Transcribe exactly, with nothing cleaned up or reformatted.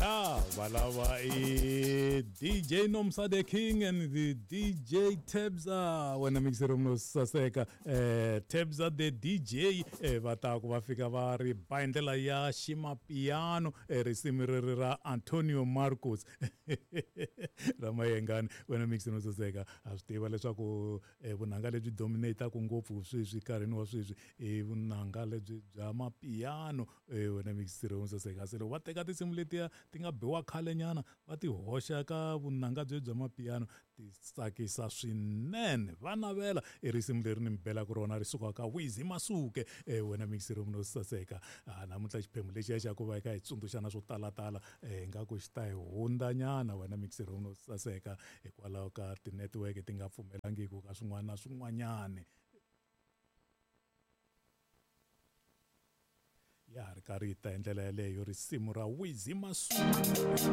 Ya valava i D J Nomsa the King and the D J Tebza, wena mixero no saseka, eh Tebza the D J, eh va ta ku va fika va ri ba hi ndlela ya ximapiano, eh risimu reri ra Antonio Marcos ra Mayengani. Wena mixero no saseka, ha swi tiva leswaku eh, vunanga lebyi dominataka ngopfu sweswi nkarhini wa sweswi i vunanga lebyi bya mapiano. eh, wena mixero no saseka, se loko va teka tinsimu letiya ti nga biwa khalenyana va ti hoxa ka vunanga bye bya mapiano, ti tsakisa swinene. Va navela i risimu leri ni mi belaka rona ri suka ka Wizi Masuke. eh, wena mixero no saseka, ah, namuntlha xiphemu lexiya xa ku va eka hi tsundzuxana swo talatala, eh, ingaku xi ta hi hundzanyana, wena mixero no saseka, hikwalaho ka ti-network ti nga pfumelangiki ka swin'wana na swin'wanyani. Ya ha ri karhi yi ta hi ndlela yeleyo risimu ra Wizi Masuke.